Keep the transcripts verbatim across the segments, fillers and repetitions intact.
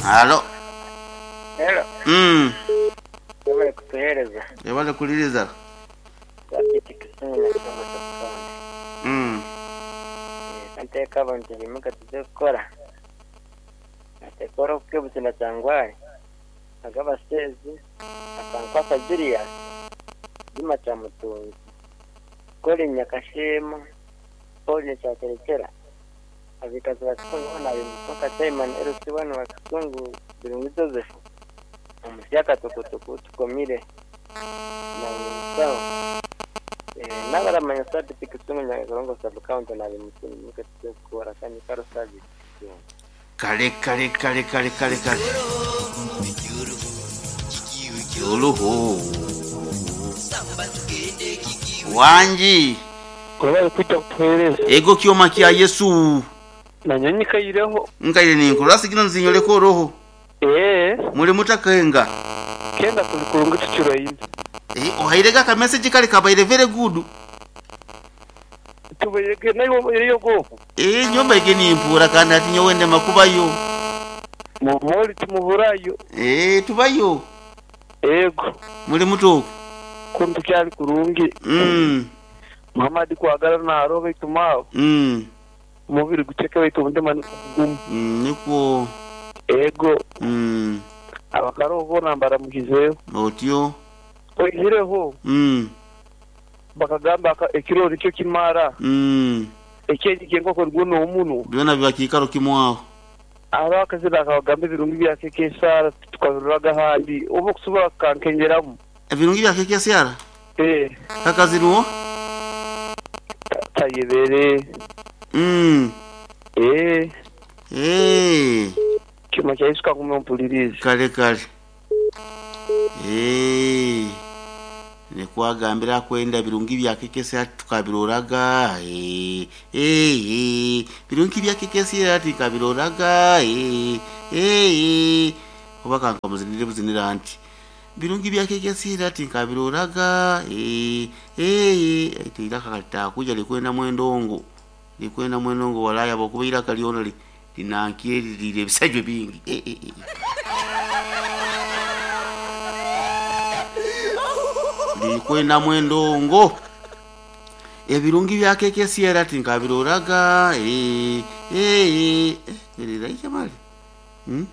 Halo. Hello, Mm. webale kutuheereza. Ebale kuliriza. Sabiti Kisumu na Kitongo Sub-County. Mm. Nteeka abantu bimuka tuze kukora. Atekora okukebutuna kyangwari. Agabasezi, akankwasa Julius, Juma Kyamutunzi, Colin Nyakashema, Paul Kyaterekera, abikazi ba Kisungu boona abimusoka Chairman L C one wa Kisungu Birungi Joseph, omusyaka tukutuku tukomire na musawo. Eh, n'abaramanya Sabiti Kisungu Nyakarongo Sub-County nabimusoka tuze kukora kandi karo Sabiti Kisungu. Kale kale kale kale kale kale. Oluho. Wanji. Webale kujja kutuheereza. Ego kyoma kya Yesu. Nanye nyikaireho. Nkaire ninkora sigino nzinyoleko roho. Ee, Muli mutakenga. kenda tuli kurungi tukiraine. Eh, ohairega ka message kale kabaire very good. Tubairege nayo eriyo gofu. Eh, nyomba ige nimpura kandi ati nyowende makubayo. Mumoli tumuburayo. Eh, tubayo. Ego, Muli mutoku. kuntu kyali kurungi. Mm. Muhammad kwagala naro baitu mawo. Mm. Umubiri guceke baitu omutima gumu. Mm, nikwo. Ego, Mm. abakaro bona mbaramukizeyo. Otyo. Oihireho Mm. bakagamba aka- ekiro nikyo kimara. Mm. Ekyenyi kyenkoko guno omunu. Byona biba kiikaro kimwaho. Abakazi bakabagamba ebirungi byake kesara tukabiruraga handi. Oba okusobola kukankenyeramu. Ebirungi bya keke syara. Eh, Kakaziruo? tayebere. Mm. Eh, Eh. kyuma kya Yesu kagume ompulirize. Kale kale. Eh. Nekwagambira kwenda birungi bya keke syara tukabiroraga. Eh. Eh. eh. Birungi bya keke syara tukabiroraga. Eh. Eh. Oba kanka muzinire buzinira anti. Birungi bya keke syara tukabiroraga. Eh. Eh. Ite iraka kalitakuja likwenda mwendongo. Likwenda mwendongo walaya bokuba iraka lyona li linankyerire ebisajjo bingi. Eh eh eh. Likwenda mwendongo. Ebirungi bya keke syera tinkabiroraga. Eh eh eh biraija mali. Hmm?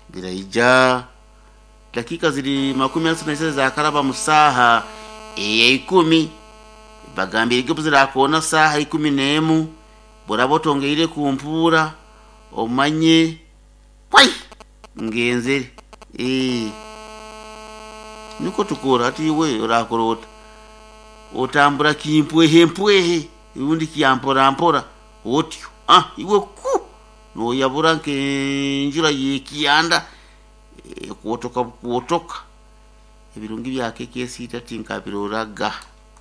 Biraija. Dakika ziri makumi asatu na isatu za karaba musaha eya ikumi bagambire ge zirakona saha ikumi n'emu buraba otongeire kumpura omanye kwai ngenzere eh niko tukora ati iwe orakora ota otambura kimpwehe mpwehe undi kiyampora mpora otyo ah iwe ku noyabura nkenjura yekiyanda e, kuotoka kuotoka ebirungi bya keke sita tinkabiroraga.